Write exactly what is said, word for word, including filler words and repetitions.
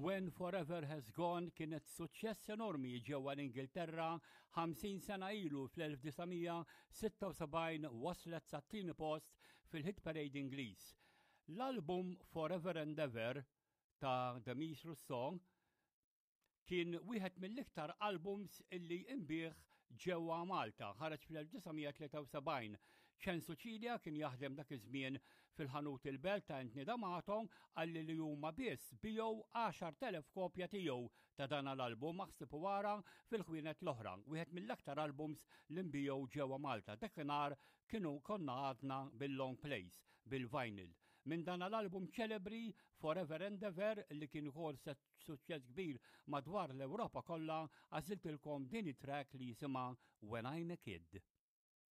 When Forever Has Gone kienet suċċess enormi ġewwa l-Ingilterra ħamsin sena ilu. Fl-elf disa' mija sitta u sebgħin waslet sat-tieni post fil-hit parade Ingliż. L-album Forever and Ever ta' Demis Rousseau kien wieħed mill-iktar albums illi inbiegħ ġewwa Malta, ħareġ fl-elf disa' mija tlieta u sebgħin. Ċensu Cilia kien jaħdem dak iż-żmien fil-ħanut il-Belt ta' Anthony D'Amato, qalli li huma biss biegħu għaxart elef kopja tiegħu ta' dan l-album, aħseb u ara fil-ħwienet l-oħra. Wieħed mill-aktar albums li nbiegħu ġewwa Malta. Dakinhar kienu konna għadna bil-long plays, bil-vinyl. Minn dan l-album ċelebri Forever and Ever, li kien ukoll suċċess kbir madwar l-Ewropa kollha, għażiltilkom din it-track li jisimha When I'm a Kid.